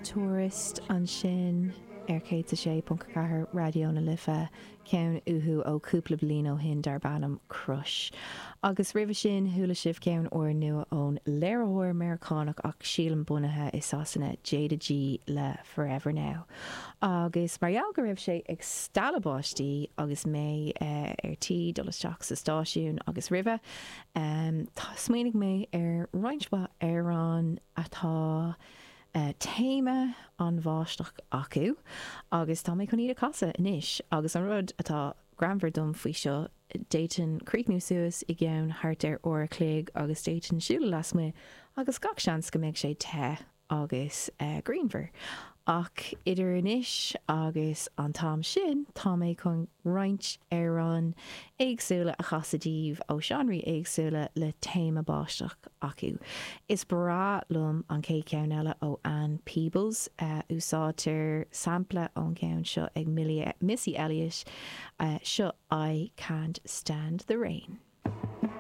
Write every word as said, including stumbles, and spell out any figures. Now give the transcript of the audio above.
Tourist ansin ar céad a sé ponc ceathair Raidió na Life, ceann uathu ó cúpla bliain ó shin darb ainm Crush. Agus roimhe sin chuala sibh ceann úrnua ón léiritheoir Meiriceánach ach sílim bunaithe i Sasana Jayda G le Forever Now. Agus mar gheall go raibh sé ag stealladh báistí agus mé ar tí dul isteach sa stáisiún agus roimhe, tá smaoinigh mé ar roinnt mhaith amhrán atá téama an bháisteach acu agus tá mé chun iad a chasadh anois agus an rud atá greannmhar dom faoi seo d'fhéadfainn críochnú suas i gceann thart ar uair a chloig agus d'fhéadfainn siúl lasmuigh agus gach seans go mbeidh sé te agus grianmhar. Ach idir anois agus an t-am sin, tá mé chun roinnt amhrán éagsúla a chasadh daoibh ó seánraí éagsúla le téama báisteach acu. Is breá liom an chéad cheann eile ó Ann Peebles. Úsáidtear sampla ón gceann seo ag Missy Elliott, seo I Can't Stand the Rain.